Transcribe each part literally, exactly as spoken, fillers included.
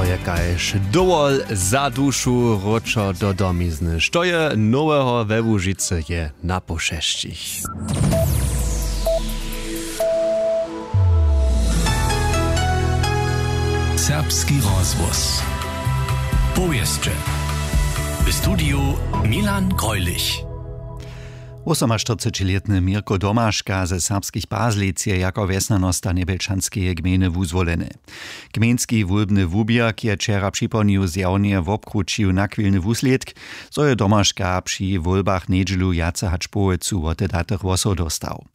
To je kaž dowol za dušu wróćo do domizny. Što je noweho we Łužicy, je na pošesćich. Serbski rozhłos. Powěsće. W studiju Milan Greulich. Wosomaštyrcećilětny Mirko Domaška ze Serbskich Pazlic je jako wjesnjanosta Njebjelčanskeje gmejny wuzwoleny. Gmejnski wólbny wuběrk je wčera připołdnju zjawnje wobkrućił nachwilny wuslědk, zo je Domaška při wólbach njedźelu wjace hač połojcu wotedatych hłosow dóstał.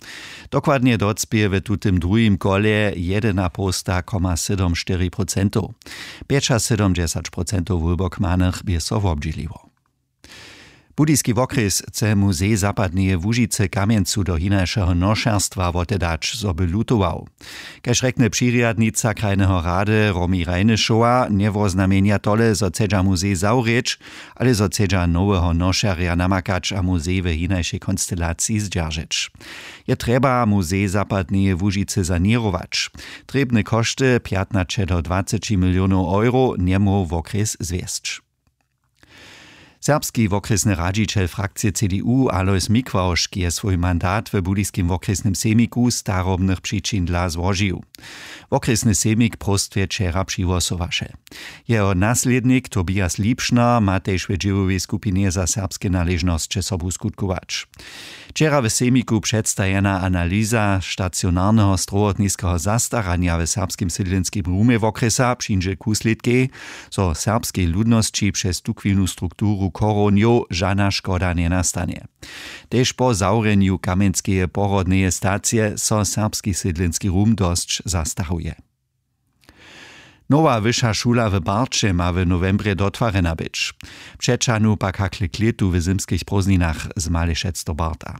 Dokładnje docpě w tutym druhim kole jedynapołsta koma sydom štyri procentow. Pjećasydomdźesać procentow wólbokmanych bě so wobdźěliło. Budyski wokrjes chce muzej zapadneje Łužicy kamjencu do hinašeho nošerstwa wotedać, zo by lutował. Kaž rjekny přirjadnica krajneho rady Romi Rejnyšowa, njewoznamjenja tole, zo chcedźa muzej zawrěć, ale zo chcedźa noweho nošerja namakać a muzej w hinašej konstelaciji zdźeržeć. Je trjeba muzej zapadneje Łužicy saněrować. Trěbne košty pjatnaće do dwaceći milionow euro njemóhł wokrjes zwjesć. Serbski wokrjesny radźićel frakcije C D U Alois Mikławšk je swój mandat w budyskim wokrjesnym sejmiku z starobnych přičin dla złožił. Wokrjesny sejmik w próstwje wčera přihłosowaše. Jeho naslědnik Tobias Liebschner ma tež w dźěłowej skupinje za serbske naležnosće sobu skutkować. Wčera w sejmiku předstajena analyza stacionarneho strowotniskeho zastaranja w serbskim sydlenskim rumje wokrjesa přińdźe k wuslědkej, zo serbskej ludnosći přez tuchwilnu strukturu chorownjow žana škoda njenastanje. Tež po zawrjenju kamjenskeje porodneje stacije so serbski sydlenski rum dosć zastaruje. Nowa wyša šula w Barće ma w nowembrje dotwarjena być. Přećahnu pak hakle klětu w zymskich prózdninach z Malešec do Barta.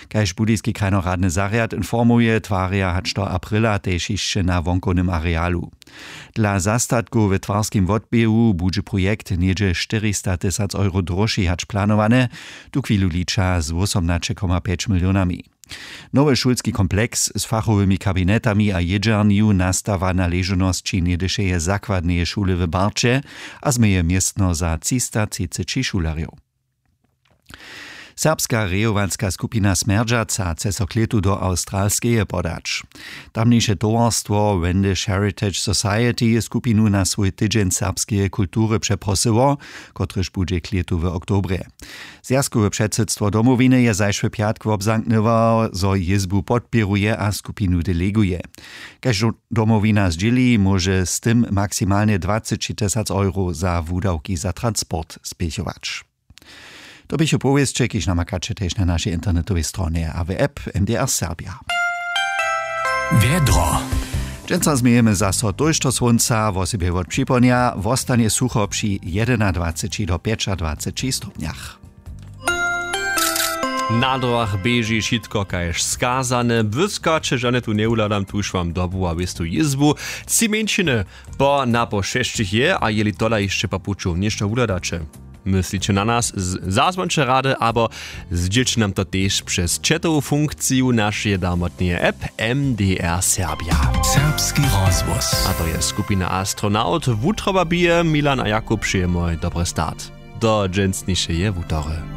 Kaž budyski krajnoradny zarjad informuje, twarja hač do aprila tež hišće na wonkownym arealu. Dla zastatkow w twarskim wotběhu budźe projekt něhdźe štyristatysac euro droši hač planowany, tuchwilu liča z wósomnaće koma pjeć milionami. Nowy šulski kompleks z fachowymi kabinetami a jědźernju nastawa na ležownosći něhdyšeje zakładneje šule w Barće a změje městno za třista třiceći šulerjow. Serbska rejowanska skupina Smjerdźaca chce so klětu do Awstralskeje podać. Tamniše towarstwo Wendish Heritage Society je skupinu na swój tydźeń serbskeje kultury přeprosyło, kotryž budźe klětu w oktobrje. Zwjazkowe předsydstwo Domowiny je zašły pjatk wobzamknyło, zo jězbu podpěruje a skupinu deleguje. Kaž Domowina zdźěli, móže z tym maksimalnje dwaceći tysac euro za wudawki za transport spěchować. To běchu powěsće, kiž namakaće tež na našej internetowej stronje a w app M D R Serbia. Wjedro. Dźensa změjemy zaso tójšto słónca, wosebje wot připołdnja wostanje sucho při jedynadwaceći do pjećadwaceći stopnjach. Na drogach běži wšitko kaž skazane. Błyskaće žane tu njewuhladam, tuž wam dobu a wěstu jězbu. Tři mjeńšiny po na po šesćich je, a jeli tola hišće po puću něšto wuhladaće, mysliće na nas, z- zazwonće rady abo zdźělće nam to tež přez chatowu funkciju našeje darmotneje app M D R Serbia. Serbski rozhłos. A to je skupina Astronaut. Wutroba bije, Milan a Jakub, přejemoj dobry start do dźensnišeje wutory.